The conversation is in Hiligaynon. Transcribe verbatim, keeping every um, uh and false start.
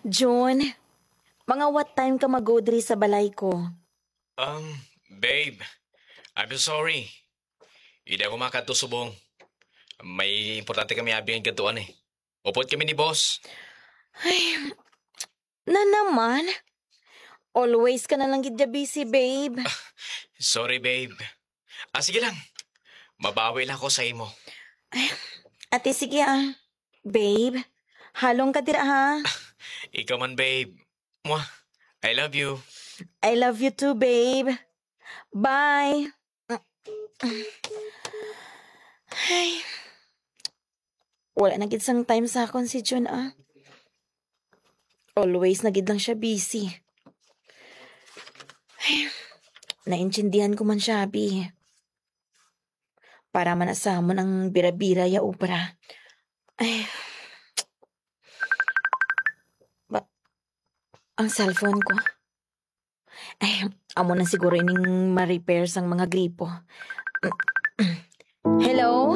Jun, mga what time ka mag-go diri sa balay ko? Um, babe, I'm so sorry. Hindi ako makadto subong. May importante kami abi ang gadtuan eh. Upod kami ni boss. Ay, na naman. Always ka na lang gid ya busy, babe. Sorry, babe. Ah, sige lang. Mabawi lang ako sa imo. Ate, sige ah. Babe, halong ka dira ha. Ikaw man, babe. Mwah. I love you. I love you too, babe. Bye. Ay. Wala na gid sang time sa akon si Jun, ah. Always na gid lang siya busy. Ay, naintindihan ko man siya, abi. Para man sa amon ang bira-bira ya obra. Ay. Ba, ang cellphone ko. Ay, amo na siguro ining ma-repair sang mga gripo. Hello?